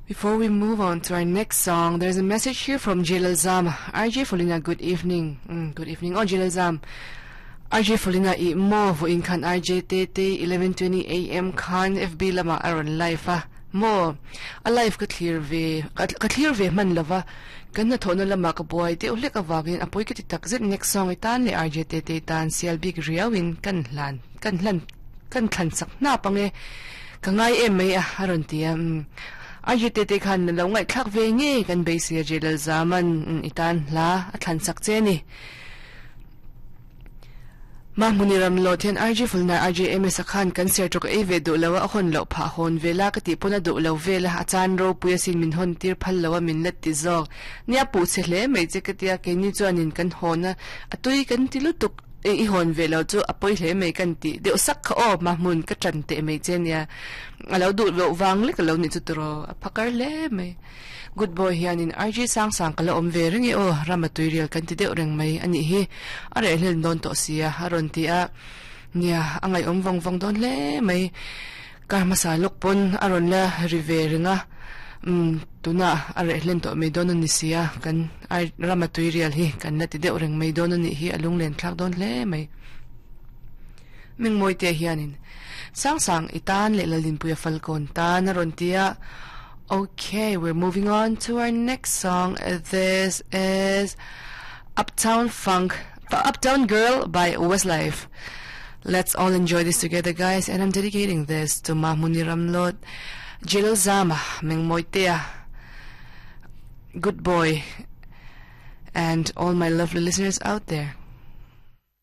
Before we move on to our next song, there's a message here from Jalal Zam. RJ Folina, good evening. Mm, good evening. Oh, Jalal Zam. RJ Folina i mo vo in khan RJ te te 11:20 a.m. khan FB lama aron live a mo a live ka clear ve ka clear ve man lova kan na thona lama ka boy te ulek awagin apoi ka ti takzet next song itan le RJ te te tan sial big riawin kan hlan kan hlan kan thlan sak na pange ka ngai em mai a aron tia RJ te te khan lo ngai thlak ve nge kan beisia Jalal Zaman itan hla a thlan sak che ni ma muniram lo then RJ fulna RJ MS khan kan ser tok e ve du lawa hon lo pha hon vela ka ti pona du lo vela a chan ro puya sin min hon tir phal lawa min let ti zok nia pu che hle mai che ka tia ke ni chuan in kan hona atui kan ti lutuk e i hon ve lo chu apoi hle mai kan ti deuh sak kha o ma mun ka tran te mai che nia alo du lo wang le ka lo ni chu tro a phakar hle mai good boy hianin RJ sang sang kala om ve ringi o ramatui rial kan ti deuh reng mai ani hi are hlel don to sia aron ti a nia angai om vong vong don hle mai karma sa lok pon aron la rive ringa tuna are hlen to mai don ani sia kan ai ramatui rial hi kan la ti deuh reng mai don ani hi alung len thlak don hle mai ming moi te hianin sang sang itan le lalin puya falcon ta na ron tia. Okay, we're moving on to our next song. This is Uptown Funk, Uptown Girl by Westlife. Let's all enjoy this together, guys. And I'm dedicating this to Mahmuni Ramlot, Jilal Zama, Ming Moitea, Good Boy, and all my lovely listeners out there.